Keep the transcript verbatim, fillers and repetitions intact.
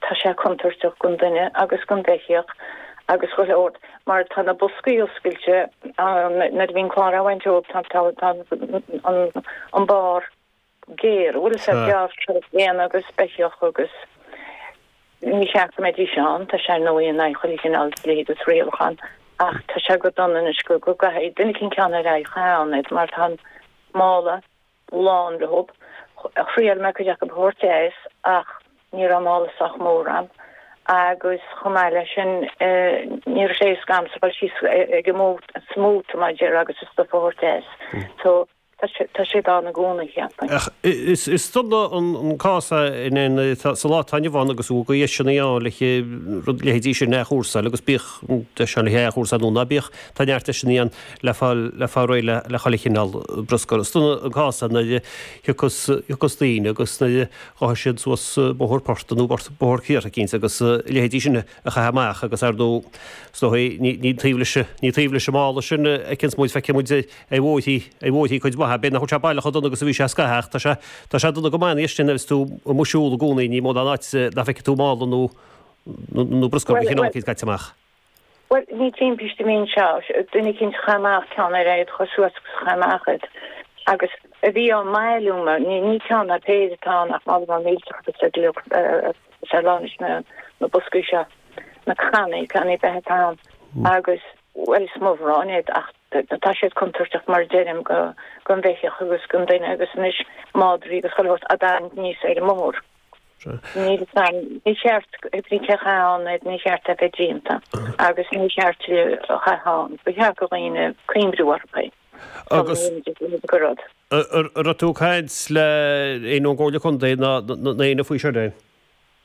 tá sé contúirteach don duine agus don bheithíoch agus chuile shórt mar tá na boscaí oscailte nuair a bhíonn clár á bhaint óg tá tá tá an an barr géar bhfuil sé gearr éan agus beithíoch agus ní cheart go mbeidís ann tá sé nó in aghaidh chuile chineál dlí agus rialachán ach tá sé go dona anois go go gcaithfidh duine eicínt ceann ar aghaidh a chaitheamh mar tá an mála lán leo. Thriail mé cuid acu a thabhairt as ach ní raibh mála sách mór a'm agus chomh maith leis sin ní raibh sé éasca a'msa dul síos ag an móta mar a déarfá agus an stuif a thabhairt as. So tá sé ann i gcónaí cheapfainn. Ach is is dona an cás é in aon sa lá atá inniu ann agus go bhfuil deiseanna ann le rud leithéidí sin a athchúrsáil agus bíodh deis ann le athchúrsáil nó ná bíodh tá neart deiseanna ann le fáil le fáil réidh le le chuile chineál bruscair. Is dona an cás é nuair a thiocfas thiocfas daoine agus nuair a ghabhfaidh siad suas bóthar portaigh nó bóthar cíortha eicínt agus leithéidí sin a chaitheamh amach agus ar ndóigh is dóigh ní ní taobh leis ní taobh leis an mála sin a fheiceanns muid feicfidh muid ar bhóithrí ar bhóithrí cuid mhaith b'fhéidir nach bhfuil sé baileach chomh dona agus a bhí sé scaitheamh ach tá sé tá sé dona go maith anois sin agus tú amuigh ag siúl i gcónaí ní mó ná áit nach bhfeicfidh tú mála nó nó bruscar de chineál eicínt caite amach. Bhuel ní timpiste a bhí anseo, duine eicínt a chaith amach ceann ar aghaidh chuir suas agus chaith amach iad agus a bhí á mbailiú mar ní ní ceann ná péire atá ann ach mála mór millteach agus ar agus ar lán leis na na boscaí seo na cannaí cannaí beatha atá ann agus bhuel is mo bhrón iad ach tá siad contúirteach mar a deirim go don bheithíoch agus don duine agus anois madraí agus chuile shórt á dtarraingt aníos ar an mbóthar. Níl a fhios agam, ní cheart ní cheart ann iad, ní cheart a bheith déanta agus ní cheart a chaitheamh ann. Ba cheart do dhaoine cuimhniú orthu é. Agus go rud. An raibh tú ag caint le éinne ón gComhairle Contae ná éinne faoi seo?